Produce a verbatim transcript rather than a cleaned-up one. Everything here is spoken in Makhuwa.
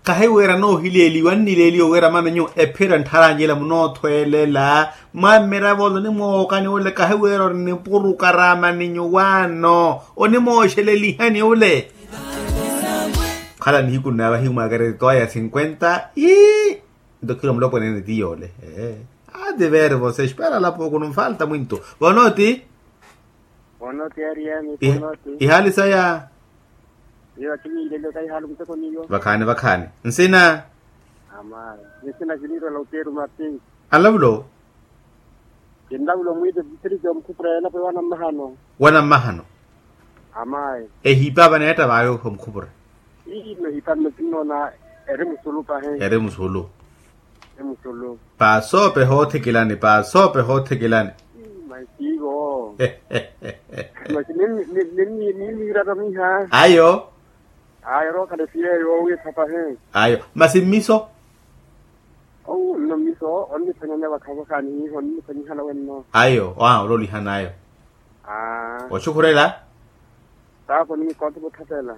Kahiweera noohileeliwa nnileeliwa wira mano nyuwo ephira nttharanjela munoothweelela. Mwaammiravo ole onimwookani ole kahiweera ori nipuru karaamani nyuwaano onimooxelelihani ole. Khala nihiku nnaavahiku mwaakari toa ya cinquenta ii. Nto khila mulopweneene ti yoole. Ati veere vose espera lapo kuno nfalta mwinto. Vonoti. Vonoti ariyami vonoti. Ihaali saya. Iyo akiviilele okahihaala omuteko niyo. Vakhaani vakhaani nsina. Amayi. Nsina kiniirwela oteru mapinki. Anlavulo. Kinlavulo mwiite district omukhupura yelapo wanammahano. Wanammahano. Amayi. Ehiipa vaneetta vayo omukhupura. Ii mehiipa nno kinnoona. Eri musulu pahi. Eri musulu. Eri musulu. Paasoope hoothikilani paasoope hoothikilani. Masi ivo. Masi ninniirata miha. Ayo. Ayo rookhala esiyeeyo owiitha pahi. Ayo masi mmiso. Owu nno mmiso onniphwanyanya vakhavakhaani hiiho onniphwanyihala wenno. Ayo oa ololihana ayo. Oxukhurela. Taapo ninikontha votthapela.